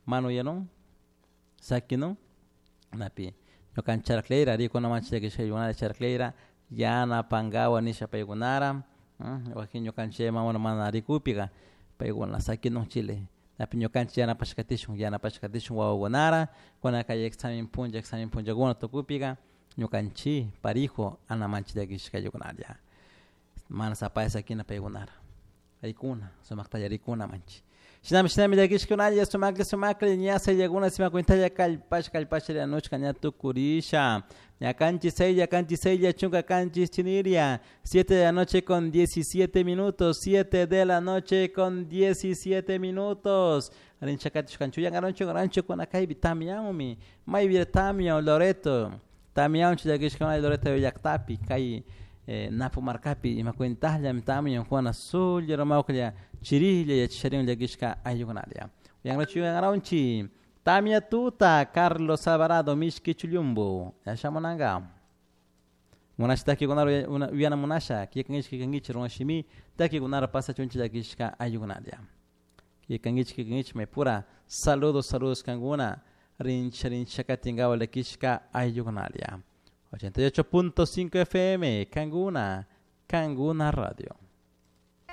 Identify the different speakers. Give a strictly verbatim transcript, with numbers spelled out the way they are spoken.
Speaker 1: Mana uyanun sakinun napi ñukanchik charaklayra rikunamanchik llakishka charaklayra yanapankawa nisha paykunara wakin ñukanchik mamuna mana rikupika paykuna sakinun chile napi ñukanchik yanapashkatishun yanapashkatishun wawakunara kuna kay examen punlla examen punllakuna tukupika ñukanchik parijo anamanchik llakishka ayllukunalla mana sapalla sakina paykunara rikuna sumaktalla rikuna manchik shinami shinami llakishkunalla sumaklla sumaklla ña sayllakuna simakuintalla kallpash kallpash rianushka ña tukurisha ña kanchis saylla kanchis saylla chunka kanchis chiniria siete de la noche con diecisiete minutos siete de la noche con diecisiete minutos rinchakatish kanchuyan rancho rancho kuna kaypi tamyanmi maypi tamyan Loreto tamyanchu llakishkuna Loreto llaktapi kay eh, Napo markapi ima cuentallami tamyan Juana sulla ramawklla chirilla yachasharin llakishka ayllukunalla uyanrachu uyanraunchi tamia tuta Carlos Alvarado mishki chullumbu yashamunanka munasha takikunara uyana munasha kikankichik kikankichik runa shimi takikunara pasachunchik llakishka ayllukunalla kikankichik kikankichik maypura saludos saludos kankuna rincha rincha katinkawa llakishka ayllukunalla ochenta y ocho punto cinco F M Kanguna Kanguna Radio.